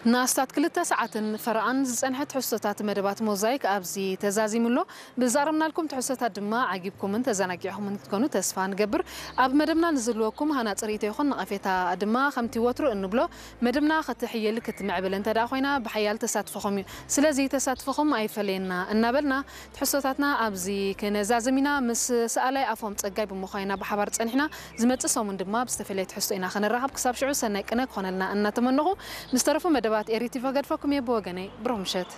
ንኣስታት ክልተ ሰዓትን ፈረቓን ዝጸንሐ ትሕዝቶታት መደባት ሞዛይክ ኣብዚ ተዛዚሙ ኣሎ። ብዛረብናልኩም ትሕዝቶታት ድማ ዓጊብኩምን ተዘናጊዕኹምን ክትኮኑ ተስፋ ንገብር። ኣብ መደብና ንዝህልወኩም ሃናጺ ርእይቶ ይኹን ነቐፌታ ድማ ከምቲ ወትሩ እንብሎ፣ መደብና ክትሕይል ክትምዕብል እንተ ደኣ ኮይና ብሓያል ተሳትፎኹም እዩ። ስለዚ ተሳትፎኹም ኣይፈለየና እናበልና፣ ትሕዝቶታትና ኣብዚ ክነዛዝም ኢና። ምስ ሰኣላይ ኣፎም ጸጋይ ብምዃን ኢና ብሓባር ጸኒሕና። ዝመጽእ ሰሙን ድማ ብዝተፈለየ ትሕዝቶ ኢና ክንራኸብ። ክሳብ ሽዑ ሰናይ ቅነ ክኾነልና እናተመነኹ፣ ምስ ተረፉ መደባት ኤሪ ቲቪ ገድፈኩም እየ። ብወገነይ ብሩኽ ምሸት።